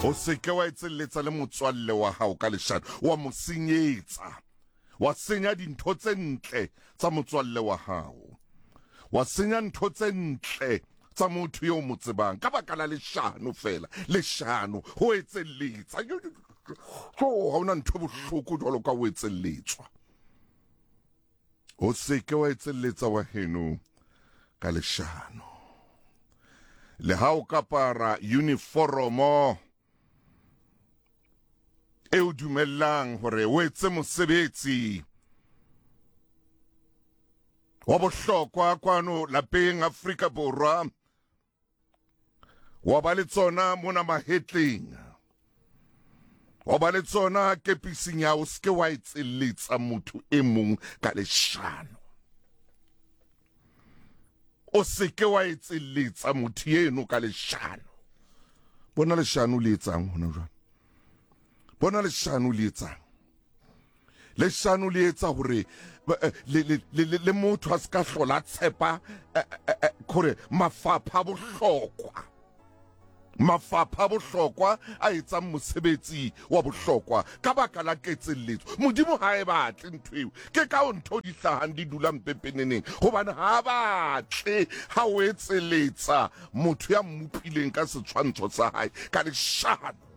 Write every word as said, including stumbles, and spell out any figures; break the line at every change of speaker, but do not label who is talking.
O se ke wa etselletsa le motswalle wa hao ka leshano, wa mo senyetsa, wa senya dintho tse ntle tsa motswalle wa hao, wa senya ntho tse ntle tsa motho eo mo tsebang ka baka la leshano fela. Leshano, ho etselletsa. Jo, ha hona ntho bohloko jwalo ka ho etselletswa. O se ke wa etselletsa wa heno ka leshano. Le ha o ka apara uniforomo e o dumellang hore o etse mosebetsi wa bohlokwa kwano lapeng Afrika Borwa, wa ba le tsona mona mahetleng, wa ba le tsona kepising ya o se ke wa etselletsa motho e mong ka leshano. O se ke wa etselletsa motho eno ka leshano. Bona leshano le etsang hona jwale. Bona leshano le etsang. Leshano le etsa hore le le le le motho a se ka hlola tshepa hore mafapha a bohlokwa, mafapha a bohlokwa a etsang mosebetsi wa bohlokwa ka baka la ketselletso. Modimo ha e batle ntho eo. Ke ka ho ntho di hlahang di dulang pepeneneng, hobane ha batle ha o etselletsa motho ya mmopileng ka setshwantsho sa hae ka leshano.